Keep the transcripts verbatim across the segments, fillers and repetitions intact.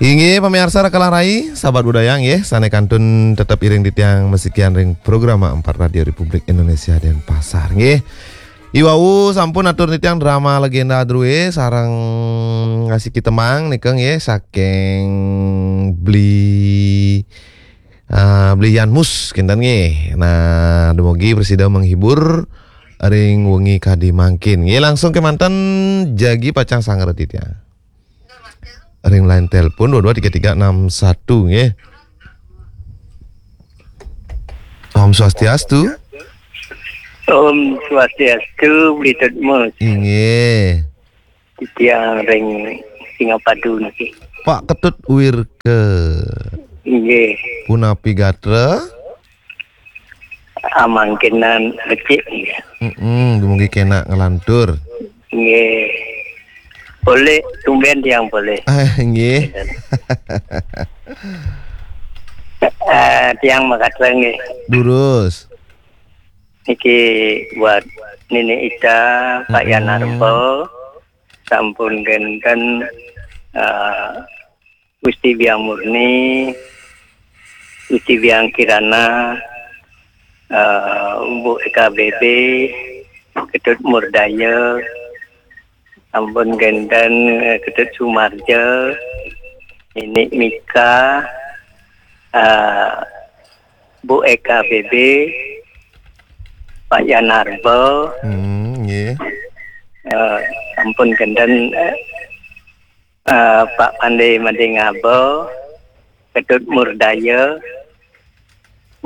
Inggih, pamiarsa Rakalah Rai, sahabat budaya nggih, sane kantun tetep iring titiang masikian ring programa empat Radio Republik Indonesia Denpasar nggih. Iwau sampun atur titiang drama Legenda Drue sareng ngasiki tembang nika nggih saking Bli, ah, Bli Yan Mus kinten nggih. Nah, dumugi prasida menghibur ring wengi kadi mangkin. Nggih, langsung kemanten jagi pacang sangra titiang. Ring line telepon dua dua tiga tiga enam satu nggih. Om Swastiastu. Om Swastiastu, Bli Tut Mus. Inggih. Titiang ring Singapadu niki. Pak Ketut Wirke. Inggih. Punapi gatra? Amangkinan becik nggih. Mm-mm, dumugi kena nglantur. Nggih. Boleh, tumben tiang boleh. Ah, nggih. Eh, tiang makasih nggih. Durus. Niki buat Nini Ita, Pak Yan Arba, sampun kenten, eh, Gusti Biang Murni, Gusti Biang Kirana, eh, Bu Eka B B, Ketut Murdaya, sampun kenten, eh, Ketut Sumarja, Nini Mika, eh, Bu Eka B B, Pak Yan Arba, hmm, nggih. Eh, sampun kenten, eh, eh, Pak Pande Madingaba, Ketut Murdaya.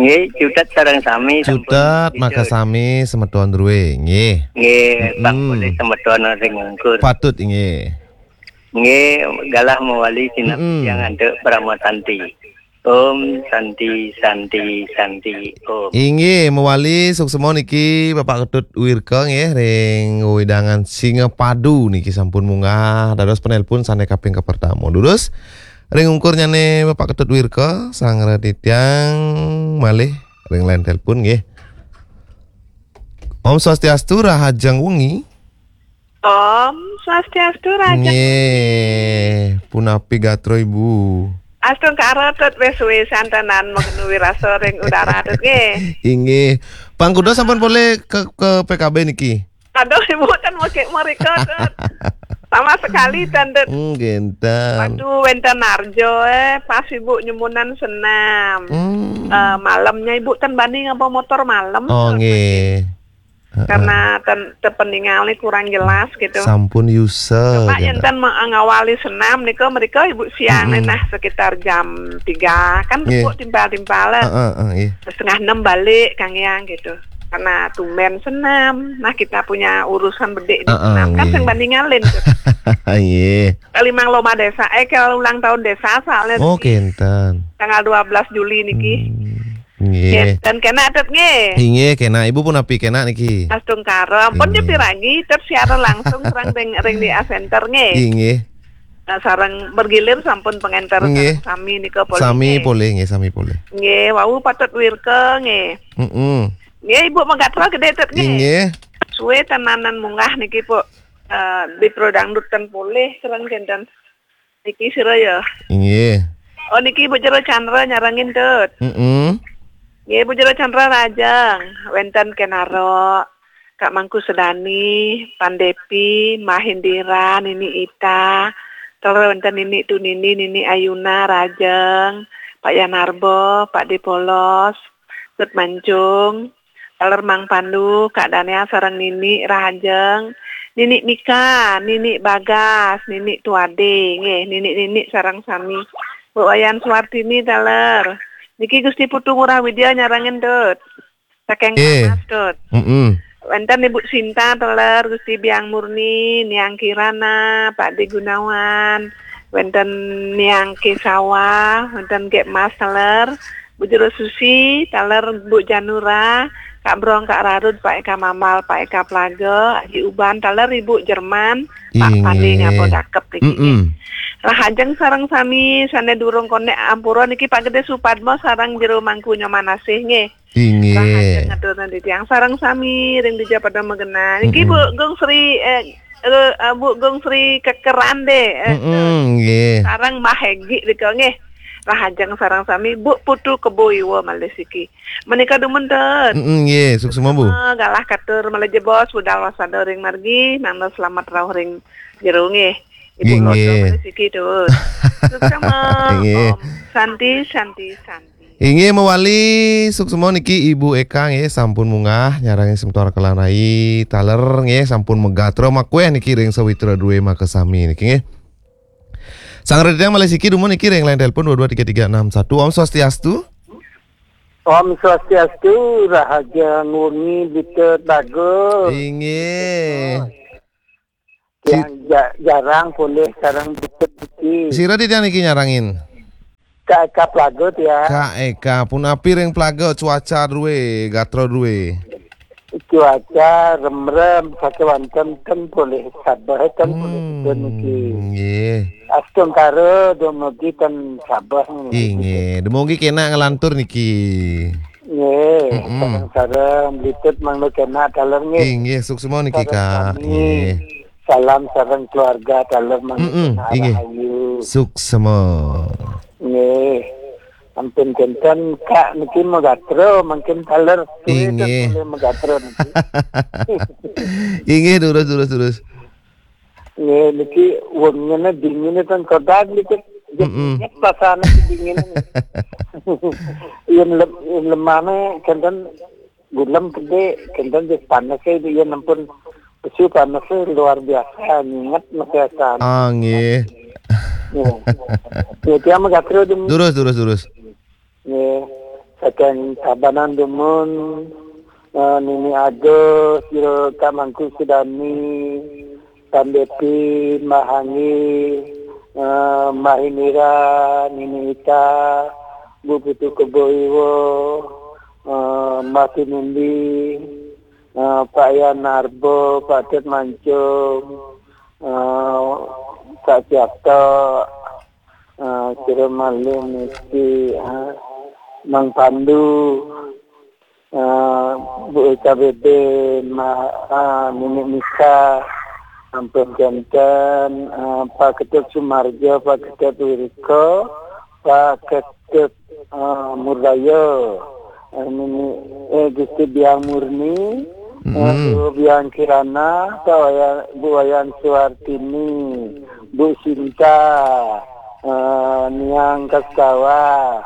Nggih, cutet sareng sami sampun. Cutet, maka sami semeton Drue, nggih. Nggih, Pak, mm-mm, Polisi semeton ring Ungkur. Patut, nggih. Nggih, galah mawali sinep, mm-mm, yang antuk Parama Santi. Om Santi, Santi, Santi, Om. Inggih, mawali suksma niki Bapak Ketut Wirka nggih ring wewidangan Singapadu niki sampun munggah dados penelpon sane kaping kapertama. Durus ring ungkurnyane Bapak Ketut Wirka, sangra titiang malih ring line telepon nggih. Om Swastiastu, rahajeng wengi. Om Swastiastu, rahajeng wengi. Nggih, punapi gatra Ibu? Astungkara Tut, wis suwe santenan magenu wirasa ring udara Tut nggih. Inggih. Pang kuda sampun polih ke, ke P K B niki? Aduh, Ibu ten mekik merika Tut. Sama sekali ten Tut. Hmm, kenten. Waduh, wenten arjo, eh, pas Ibu nyumunan senam. Hmm. Eh, malamnya Ibu ten bani ngaba motor malam. Oh, Tut, nggih. Heeh. Karena ten, tepeninggal ni kurang jelas gitu. Sampun yusa, coba yen ten me-, ngawali senam nika, mereka Ibu siang ni, mm-mm, nah, sekitar jam tiga kan, nggih, tepuk timpal-timpal lah. Heeh, heeh, nggih. Setengah enam balik, Kang Yang, gitu. Karena tumben senam. Nah, kita punya urusan bedik di, heeh, senam kan, nggih, sing bandingalin tuh. Nggih. Kali mang lomba desa, eh, kali ulang tahun desa soalnya. Oh, niki kenten. Tanggal dua belas Juli niki. Hmm. Nggih. Kenten kena Tut nggih. Inggih, kena. Ibu punapi kena niki? Astungkara. Ampun, nggih, nyepi lagi, Tut siaran langsung sareng ring, ring di A Center nggih. Inggih. Nah, sareng bergilir sampun pengenter, nggih, sareng sami nika polih, sami nggih, polih nggih, sami polih. Nggih, wau Pak Tut Wirka nggih. Mm-mm. Nggih, Ibu magatra gede Tut nggih. Inggih. Suwe tenanan munggah niki, Bu. Eh, di Pro Dangdut ten polih sareng kenten. Niki sira ya? Inggih. Oh, niki Bu Jero Chandra nyarengin Tut. Mm-mm. Nggih, Bu Jero Chandra rajeng. Wenten Kenaro, Kak Mangku Sedani, Pandepi, Mahendira, Nini Ita, taler wenten Nini Tunini, Nini Ayuna rajeng, Pak Yanarbo, Pak Depolos, Tut Mancung, taler Mang Pandu, Kak Dania sareng Nini rahajeng, Nini Mika, Nini Bagas, Nini Tuade, nggih, Nini-nini sareng sami. Bu Wayan Suwartini taler. Niki Gusti Putu Ngurah Widya nyarengin Tut. Saking, eh, Kamas Tut. Mm-mm. Wenten Ibu Sinta taler, Gusti Biang Murni, Niang Kirana, Pak De Gunawan, wenten Niang Kesawa, wenten Gek Mas taler, Bu Jero Susi, taler Bu Janura, Kak Brong, Kak Rarud, Pak Eka Mambal, Pak Eka Plaga, Haji Uban, taler Ibu Jerman, Pak, inggih, Pande ngapa dakep niki. Mm-mm. Rahajeng sareng sami sane durung konek ampura niki Pak Gede Supadma sareng Jero Mangku Nyoman Asih nggih. Inggih. Rahajeng ngaturna titiang sareng sami ring dija pada magena. Niki, mm-mm, Bu Gung Sri, eh, eh, eh, Bu Gung Sri Kekerande, eh, Mm-mm, nggih. Sareng Mbah Hegi nika nggih. Rahajeng sareng sami, Bu Putu Kebo Iwa malih siki. Menika dumun, Tut. Mm-mm, nggih, suksma, Bu. Eh, galah katur malih jebos, budal waspada ring margi, mangda selamat rauh ring jero nggih. Ibu Nggih, Lodo nggih. Malih siki, Tut. Suksma. Nggih. Om Santi, Santi, Santi. Inggih mawali, suksma niki Ibu Eka nggih, sampun munggah nyarengin semeton Rakalan Rai taler nggih, sampun magatra makueh niki ring sawitra druwe makasami niki nggih. Sang Raditya malih siki dumun niki ring line telepon dua dua tiga tiga enam satu. Om Swastiastu. Om Swastiastu, rahajeng wengi Bita Dago. Inggih. Tiang ja-, jarang polih sareng Bita niki. Sira titiang niki nyarengin? Kak Eka Plaga tiang. Kak Eka, punapi ring Plaga cuaca druwe, gatra druwe? Cuaca remrem, sakewanten ten polih sabeh, ten polih Hmm, Bita niki. Nggih. Astungkara dumugi ten sabeh niki. Inggih, dumugi kenak nglantur niki. Nggih, Mm-mm. sareng-sareng, Bita mangda kenak taler nggih. Inggih, suksma niki, Sareng Kak. Sami. Nggih. Salam sareng keluarga taler mangda Mm-mm, kenak inggih. Rahayu. Suksma. Nggih. Ampun kenten Kak niki magatra mangkin taler suwe Inggih. Ten polih magatra niki. Inggih, durus, durus, durus. Nggih, niki wengine dingine ten kodag niki. Mm-mm. Nyet pasane dingine. Yen lem-, yen lemane kenten gulem gede, kenten wis panese yen ampun pesu panese luar biasa, nginget mesesan. Ah, nggih. Nggih. Nggih, tiang magatra dum-, Durus, durus, durus. Nggih, saking Tabanan dumun, eh, Nini Agus, Jero Kak Mangku Sudani, Tan Depi, Mbah Hangi, eh, Mbah Indira, Nini Ita, Bu Putu Kebo Iwa, eh, Mbah Tinumbi, eh, Pak Yan Narbo, Pak Tet Mancung, eh, Pak Siato, eh, sira malih niki, eh, Mang Pandu, eh, Bu Eka Bebe, Ma-, eh, Nini Mika, ampun kenten, eh, Pak Ketut Sumarjo, Pak Ketut Wiriko, Pak Ketut, eh, Murdaya, eh, Nini, eh, Gusti Biang Murni, eh, Mm-mm. Bu Biang Kirana, Pak Wayan, Bu Wayan Suartini, Bu Sinta, eh, Niang Kaskawa,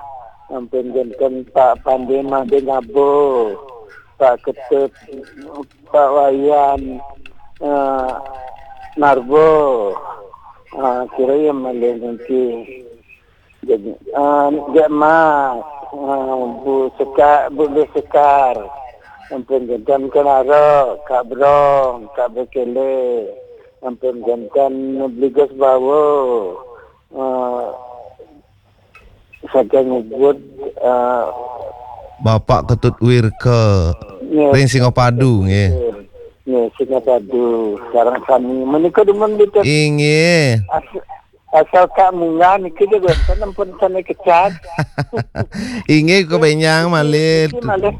ampun kenten Pak Pande Made Ngabo, Pak Ketut, Pak Wayan, eh, Narbo, eh, kira ya malih niki. Jadi, eh, Jek Mas, eh, Bu Sekar, Bu Beh Sekar, ampun kenten Kenaro, Kak Brong, Kak Bekele, ampun kenten Bligos Bawo, eh, saking Ubud, eh, Bapak Ketut Wirka, nggih, ring Singapadu, nggih. Nggih, Singapadu, sareng sami. Menika dumun Bita. Inggih. As-, Asal Kak munggah niki ja wénten ampun sané kecap. Inggih, kabenjang malih. Niki malih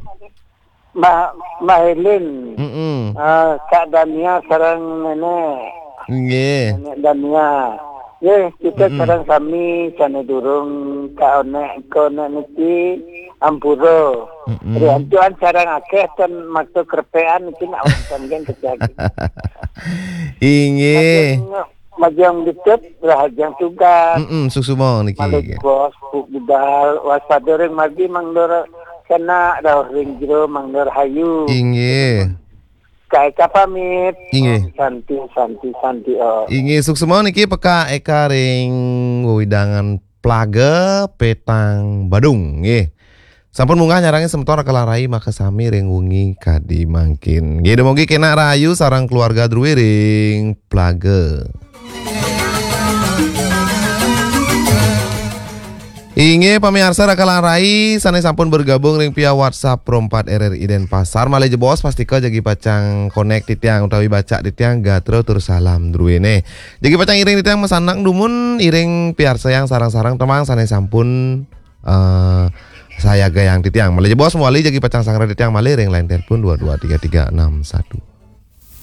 Mbah, Mbah Helen. Mm-mm. Ah, Kak Dania sareng Nenek. Inggih. Nenek Dania. Nggih, kita Mm-mm. sareng sami sané durung Kak Onek, Kak Onek niki ampura. Mm-mm. Riantuan sareng akéh ten maksa krepekan niki nak wénten kecap. Inggih. Majeng dicet, rahajeng tugas. Mm-mm, suksma niki. Malih bos, bu-, budal, waspada ring margi, mangda kena rauh ring jero, mangda rahayu. Inggih. Kak Eka pamit. Inggih. Om Santi, Santi, Santi, Om. Inggih, suksma niki Pak Eka ring wewidangan Plaga Petang Badung, nggih. Sampun munggah nyarengin semeton Raka Larai makasami ring wengi kadi mangkin. Nggih, dumugi kenak rahayu sareng keluarga druwe ring Plaga. Inggih, pamiarsa Raka Larai sané sampun bergabung ring via WhatsApp Pro empat R R I Denpasar. Malih jebos, pastika jagi pacang konek titiang utawi baca titiang gatra tur salam druwene. Jagi pacang iring titiang masanang dumun, iring piarsayang sareng-sareng tembang sané sampun eh, sayagayang titiang. Malih jebos mawali jagi pacang sangra titiang malih ring line telepon dua dua tiga tiga enam satu.